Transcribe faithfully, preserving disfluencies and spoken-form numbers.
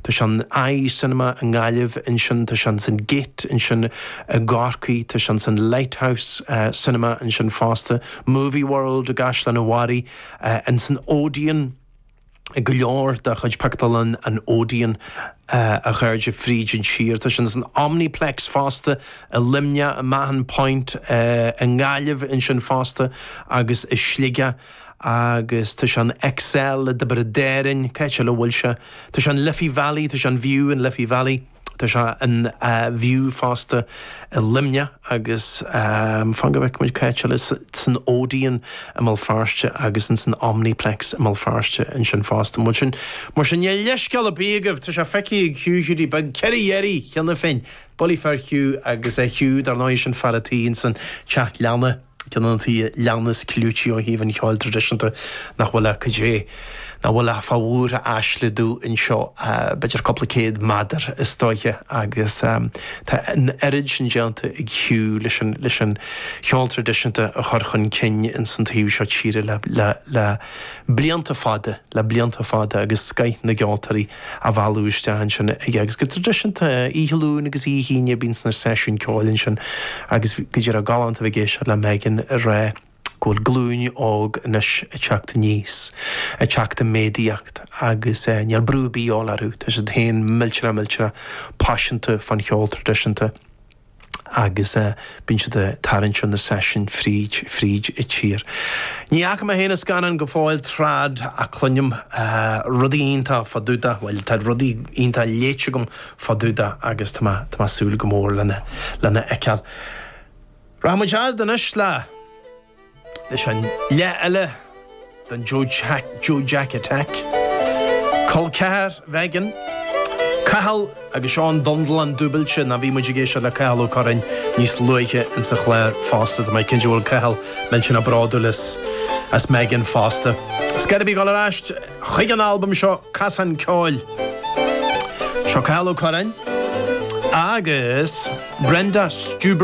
Tá sé an Eye Cinema i nGaillimh ansin, tá sé san Gate ansin i gCorcaigh, tá sé san Lighthouse uh, Cinema ansin fosta, Movie World i gCaisleán an Bharraigh, uh, in san Odeon, go leor de chuid pictiúrlann an Odeon uh, a chairde fríd an tír. Tá sin san Omniplex fosta i Luimneach i Mahon Point uh, i nGaillimh ansin fosta agus i Sligeach agus tá sé an XL i dTiobraid Árann cé le bhfuil sé. Tá sé an Liffey Valley, tá sé an View in Liffey Valley. Tá sé an uh, View fosta i Luimneach agus um, fan go bhfeicfidh muid cé san Odeon i mBéal Feirste agus in san Omniplex i mBéal Feirste ansin fosta. Mar sin mar sin níl leithscéal ar bith agaibh tá sé feicthe ag Hugh Hiúdaí Beag ceithre iarraidh cheana féin. Bullaí fer Hugh agus é Hugh dar ndóigh sin fear an tí san teach leanna ceann de na tithe leanna is clúití ó thaobh an cheoil traidisiúnta nach bhfuil cad é nach bhfuil a fáhúr a aisliú anseo b'fhéidir cúpla céad méadar is dóiche agus um, tá an oiread sin déanta ag Hugh leis an leis an cheol traidisiúnta a chur chun cinn in san taobh seo tíre le, le, le blianta fada le blianta fada agus scoth na gceoltóirí a bhailiú isteach ansin aige agus go traidisiúnta oíche Luain agus oíche Aoine bíonn sna seisiúin ceoil ansin agus go dtí galánta bheith ag éisteacht le Megan a rá go bhfuil glúin óg anois ag teacht aníos ag teacht i méadaíocht agus eh, níl brú ar bith orthu Tá siad féin millteanach millteanach paiseanta fan cheol traidisiúnta agus uh, bíonn siad tarraingt na seisiúin fríd fríd an tír. Ní fhaca mé féin an scannán go fóill trad ach cluinim uh, rudaí iontacha fá dtaobh de, well tá rudaí iontacha léite agam fá dtaobh de agus tá tá súil go mór lena lena fheiceáil. Rachaimid anois le leis an leath eile den Joe Jack, Joe Jack Attack. Col ceathar Mhegan, Cathal agus Seán Dundlan dúbailte na bhí muid ag éisteacht le Cathal Ó Curráin níos luaithe in sa chlár fosta Tá mé cinnte bhfuil Cathal millteanach bródúil as as Megan fosta. Scad bí gáil arís chuig an albam seo Casán Ceoil. Seo Cathal Ó Curráin agus Brenda Stuber